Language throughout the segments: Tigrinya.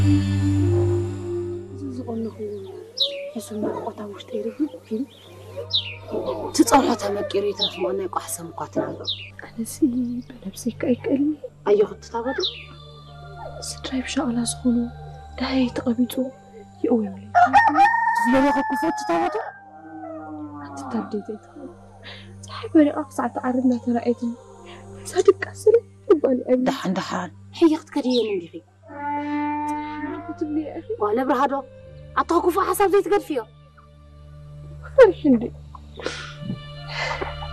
እዚ ዝቐነኹዎ ሕሱም ናፍቖት ኣብ ውሽጠይ ርብርብ ኢሉ። እቲ ጸብሖ ተመቂሩ ይትረፍ እሞ ናይ ቋሕ ሰም እኳ ትናንዶ። ኣነሲ ብነብሰይ ከ ኣይክእልን። ኣየኹ ትታበዱ። ስድራይ ብሻቕላ ዝኾኑ ደሃይ ተቐቢጹ ይእወ ይብለይ። ትፍለዶ ከኩፎ ትታበዱ። ኣንቲ ታደይ ዘይትኽእል። ፀሓይ በሪቓ ክሳዕ ትዓርብ እናተራእየትኒ። እዛ ድቃስ ስለ ትባል ኣይብለይ። ደሓን ደሓን። ሕይኽት ከድየን እንዲኺ። ክትብሊ እያ። ጓል ኣብርሃ ዶ? ኣታ ክፉእ ሓሳብ ዘይትገድፍዮ። ፈሪሕ እንዴ?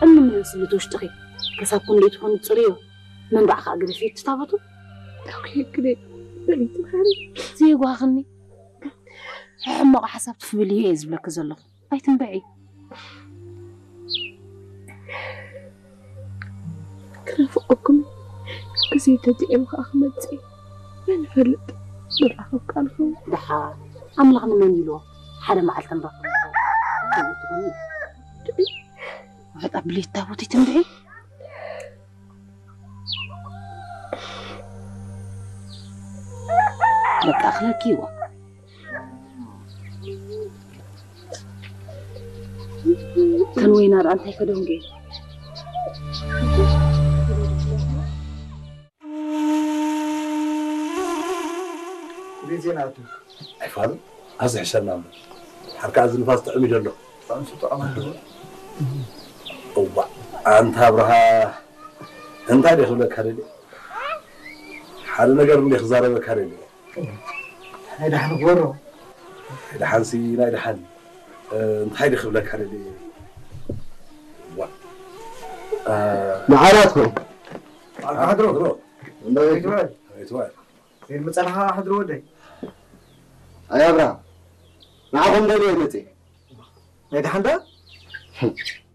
እምኒ ምን ስልት ውሽጥኺ። ከሳብ ክንደይ ትኾኑ ትጽርዮ። መንባዕ ከኣ ግደፊ ትታበቱ። ኦኬ፣ ግደ። በሊ ትምሓሪ። ዘይጓኽኒ። ሕማቕ ሓሳብ ትፍብልዮ እየ ዝብለኪ ዘለኹ። ኣይትንበዒ። ክናፍቀኩም ግዜ ተጥዒሙ ከዓ ክመፅእ እዩ። መን ይፈልጥ? ንራኸብ ከዓ ንኸውን። ደሓ ኣምላኽ ንመን ኢልዎ ሓደ መዓልቲ ንራኸብ ንኸውን። ከምኡ ትኾኒ። ውሕጥ ኣብልየት ታቦት ኣይትንበዒ። በቃ ኣኽለኪ ይዋ። እተን ወይና ደኣ እንታይ ከደንጉ እየን? ቤት ዜና ኣቱ። ኣይፋል፣ ኣብዚ ሕሸና እምበር። ሓርካ እዚ ንፋስ ጥዕም እዩ ዘሎ። ኣንሱ ጥዕም ኣሎ። እዋ፣ ኣንታ ኣብርሃ፣ እንታይ ደይ ክብለካ ደልየ? ሓደ ነገር እንደ ክዛረበካ ደልየ። ናይ ደሓን ክበሮ። ናይ ደሓንሲ፣ ናይ ደሓን። እ፣ እንታይ ደይ ክብለካ ደልየ? ዋ። እ፣ መዓላት ኾይ። ኣንታ ሓድሮ። ሓድሮ። እንታይ ትበል? እንታይ ትበል? ዘይመጸልኻ ሓድሮ ወደይ። ኣይ ኣብርሃም፣ ንዓኹም ደልየ መጽየ። ናይ ደሓን ዳ?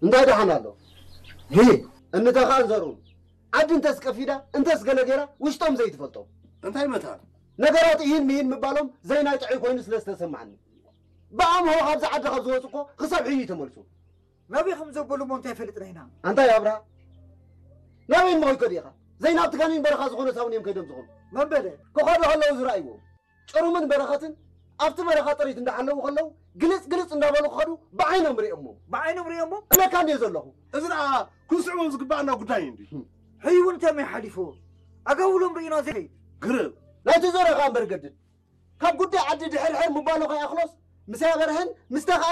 እንታይ ደሓን ኣሎ? ሂ፣ እንተ ኸኣ ዘርኡ። ዓዲ እንተስ ቀፊዳ፣ እንተስ ገለ ገይራ፣ ውሽጦም ዘይትፈልጦም። እንታይ መታን? ነገራት ኢሂን ምሂን ምባሎም ዘይናይ ጥዑይ ኮይኑ ስለ ዝተሰማዓኒ። ብኣምሆ ካብዚ ዓዲ ካብ ዝወጹ እኮ ክሳብ ሕዩ ይተመልሱ። ናበይ ከም ዘበሉ እሞ እንታይ ፈልጥና ኢና? ኣንታይ ኣብርሃ? ናበይ እሞ ኾይኮ ዲኻ? ዘይናብቲ ጋኔን በረኻ ዝኾነ ሳውን እዮም ከይዶም ዝኾኑ። መን በለ? ክኸዱ ከለዉ ዝረኣይዎም። ጭሩምን በረኸትን ኣብቲ በረኻ ጥሪት እንዳሓለዉ ከለዉ ግልጽ ግልጽ እንዳበሉ ክኸዱ ብዓይኖም ርእዮሞ። ብዓይኖም ርእዮሞ? እብለካ እንድየ ዘለኹ። እዚ ደኣ ክንስዕቦም ዝግባኣና ጉዳይ እንድዩ። ሕዩ እውን ተመይ ሓሊፉ ኣጋውሎም ርኢና ዘይከይድ። ግርም። ናይቲ ዞረኻ እምበር ገድድ። ካብ ጉዳይ ዓዲ ድሕርሕር ምባሉ ከይኣኽሎስ ምስ ኣበርሀን ምስታ ከኣ